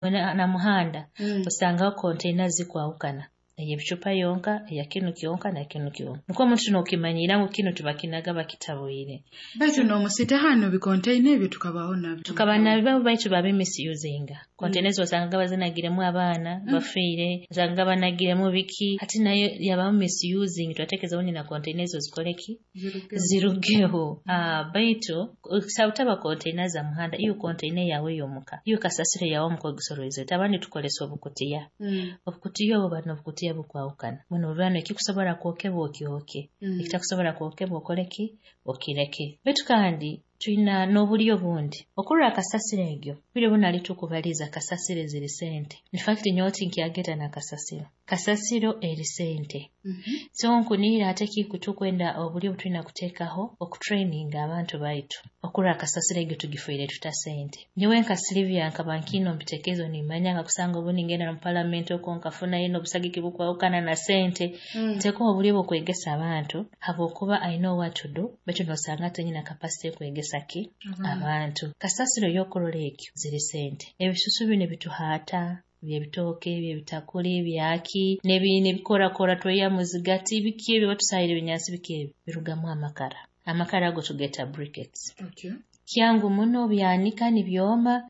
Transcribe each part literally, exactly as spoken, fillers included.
Na muhanda Mm. osangaho container zikwahukana, ey'ebicupa yonka, eya kinu kyonka na kinu kyonka, nikwo omuntu nookimanyira ngu kinu tibakinaga bakitabwire. Baitu n'omusita hanu bikontaina ebyo tukabaho nabyo. Tukaba nabyo, baitu babi misusinga. Container ezo osangaga bazinagiremu abaana bafiire, osangaga banagiremu biki. Hati nayo yabamu misusing. Twatekereza ubundi na container ezo zikole ki? Zirugeho. Zirugeho. Ah, baitu butaba container za muhanda, iyo container yawe ey'omuka, iyo kasasiro yawe omuka ogisoroize. Abandi tukozesa obukutiya. Mm. Obukutiya obwo, bano obukutiya bukwahukana buno, bano ekikusobora kwokebwa okyoke, Mm. ekitakusobora kwokebwa okole ki? Okireke. Baitu kandi twina n'oburyo obundi okurora kasasiro egyo. Bwire buno ali tukubaliza kasasiro ziri sente. In fact, nyowe tinkyageta na kasasiro, kasasiro eri sente. Mhm. So nkunihira ate kikutukwenda oburyo obutulina kuteekaho okutraininga abantu baitu okurora kasasiro egyo tugifuire tuta sente. Nyowe nka Sylvia nkaba nkiine omu bitekerezo, nimanya nkakusanga obu ningenda mu palamenti okwo nkafunayo n'obusagiki bukwahukana na sente, Mm. nteekaho oburyo bw'okwegesa abantu, habwokuba I know what to do, baitu nosanga tinyina capacity ekwegesa ki abantu. Kasasiro y'okurora ekyo ziri sente. Ebisusu binu ebituhaata byebitooke, byebitakuli, byaki, n'ebikorakora, tweya muzigati, biki ebyo batusahira ebinyansi, biki ebyo birugamu amakara. Amakara ago tugeta briquettes. Okay. Kyangu muno, byanika nibyoma,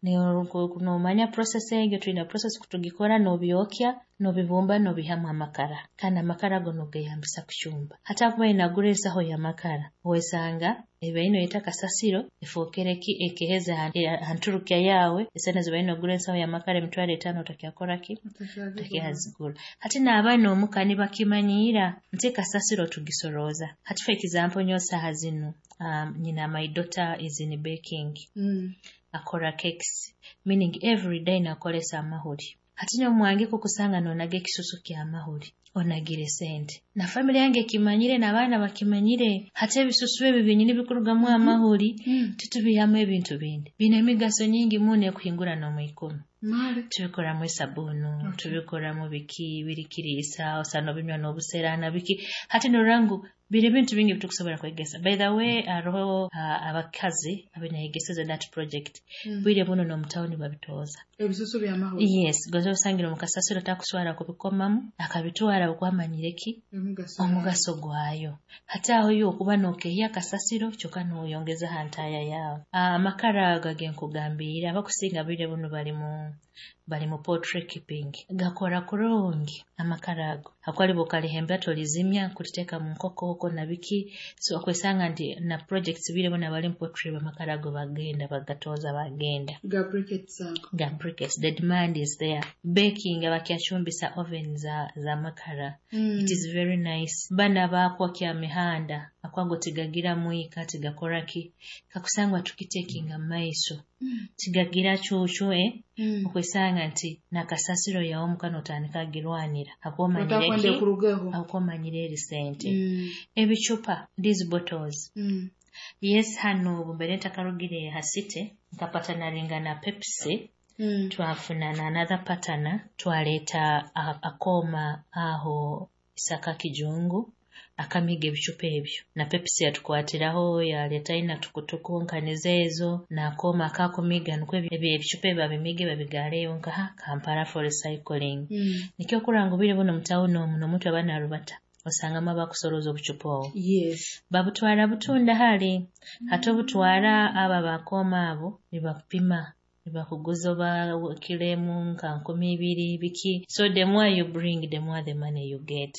nomanya process egyo, twina process kutugikora, nobyokya, nobibumba, nobihamu amakara, kandi amakara ago nogeyambisa kucumba. Hati akuba inagura ensaho y'amakara, wesanga ebaine noyeta kasasiro efookere ki? Ekeheza ha nturukya yawe. Esente zibaine nogura ensaho y'amakara emitwaro etaano, otakyakora ki? Otakyazigura. Hati n'abaana omuka nibakimanyiira nti kasasiro tugisorooza. Hati for example, nyowe saaha zinu um, nyina my daughter is in baking, Mm. akora cakes, meaning every day nakolesa amahuri. Hati nyowe kukusanga nonaga ekisusu ky'amahuri, onagire sente, na family yange ekimanyire, n'abaana bakimanyire. Hati ebisusu ebyo byenyini bikurugamu amahuri, Mm. tutubihamu ebintu bindi biine emigaso nyingi muno ekuhingura n'omwikumi. Male. Tubikoramu esabunu, Okay. tubikoramu biki birikiriisa, osana obinywa n'obusera na biki. Hati norora ngu biri ebintu bingi bitukusobola kwegesa. By the way, hariho uh, abakazi abenayegeseze that project. Mm. Bwire buno n'omutawuni babitooza. Ebisusu by'amahuri. Yes, goza osangira omu kasasiro takuswara kubikomamu, akabitwara okwamanyire ki? Omugaso. Omugaso gwayo. Hati aho yo okuba nokehya kasasiro kyokka noyongeza ha ntaaya yaawe. Amakara ago agenkugambiire, abakusinga bwire buno bali mu bali mu poultry keeping. Gakora kurungi amakara ago, hakuba bwokalihembera tolizimya kuliteeka mu nkoko okwo na biki. So okwesanga nti na projects bwire buno abali mu poultry, amakara ago bagenda bagatooza, bagenda. Ga briquettes ago. Ga briquettes, the demand is there. Baking, abakyacumbisa oven za, za makara. Mm. It is very nice. Bana bakwokya mihanda akwago tigagira mwika, tigakora ki, kakusangwa tukitekinga maiso. Mm. Tigagira cucu, eh? Mm. Okwesanga nti nakasasiro yawe omuka notandika agirwanira hakuba Otakwenda omanyire ki? ekurugeho. Hakuba omanyire eri sente. Mm. Ebicupa, these bottles. Mm. Yes, hano obu mbere ntakarugire ha city, nkapatanaringa na Pepsi. Mm. Twafuna na another partner, twaleeta a- akooma aho Isaka Kijungu akamiga ebicupa ebyo, na Pepsi yatukwatiraho, yaleeta ina tukutuku nkaniza ezo n'akooma akakumiga, nikwo ebyo ebicupa ebyo babimige babigaaleyo nkaha Kampala for recycling. Mm. Nikyo okurora ngu bwire buno mutawuni omu n'omuntu aba narubata osangamu abakusorooza obucupa obwo. Yes. Babutwara butunda hali. Hati obutwara, abo abakooma abo nibakupima, nibakuguza oba kilo emu nka nkumi ibiri, biki. So the more you bring, the more the money you get.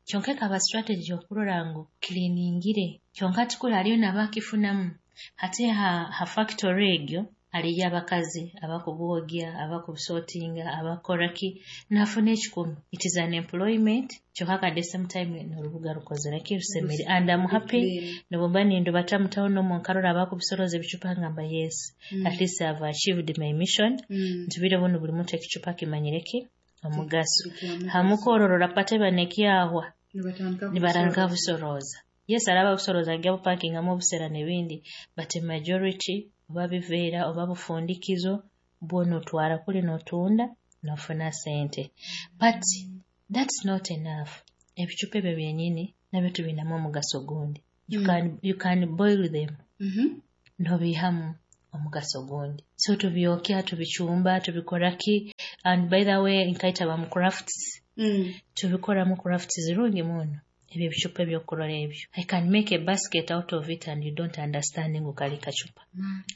Kyonka ekaba strategy okurora ngu cleaningire, kyonka tikuli hariyo nabakifunamu. Hati ha, ha factory egyo hariyo abakazi abakubwogya, abakubusortinga, abakora ki, nafuna ekikumi. It is an employment, kyonka at the same time n'orubuga rukozere ki? Rusemire, and I'm happy. Clean. Nobumba nindubata mu town omwo nkarora abakubisorooza ebicupa, ngamba yes, Mm. at least I've achieved my mission. Mm. Nti bwire buno buli muntu ekicupa kimanyire ki? Omugaso. Kikyamugaso. Hamukororora pateba nekyahwa, Nibatandika nibaranga kubisorooza. busorooza. Yes, araba busorooza ajja bupakingamu obusera n'ebindi, but majority oba biveera oba bufundikizo bwona otwara kuli n'otunda n'ofuna sente. But that's not enough. Ebicupa ebyo byenyini nabyo tubinamu omugaso gundi. You Mm. can, you can boil them, Mhm. nobihamu Omugaso gundi, so tubyokya, tubicumba, tubikora ki. And by the way, nkaita mu crafts, Mm. tubikoramu crafts zirungi muno. Ebyo ebicupa ebyokurora ebyo, I can make a basket out of it and you don't understand ngu kali kacupa.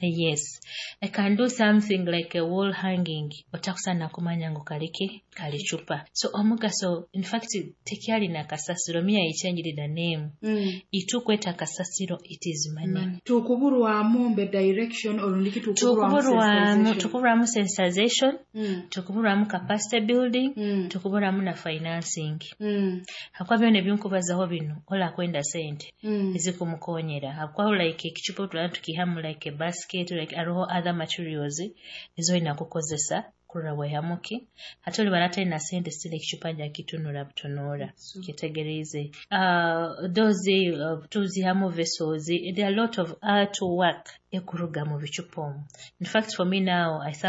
Yes, I can do something like a wall hanging, otakusana kumanya ngu kaliki kali cupa. So omugaso, in fact, tekyalina kasasiro. Me, I changed the name. Mm. Itukweta kasasiro, it is money. Tukuburwamu mbe direction olundiki tukuburwamu tukuburwamu? Tukuburwamu sensitization, Mm. tukuburwamu capacity building, Mm. tukuburwamu na financing, Mm. hakuba byona ebinkubazaho bino olakwenda sente Mm. ezikumukonyera, hakuba like ekicupa tulaba tukihamu like a basket, like hariho other materials ezolina kukozesa kurora bwehamuki. Hati oliba natalina sente, still ekicupa njakitunura butunura. Kitegereize uh, those uh, tuzihamu vessels. There are a lot of art work ekuruga mu bicupa omwo. In fact, for me now, I thank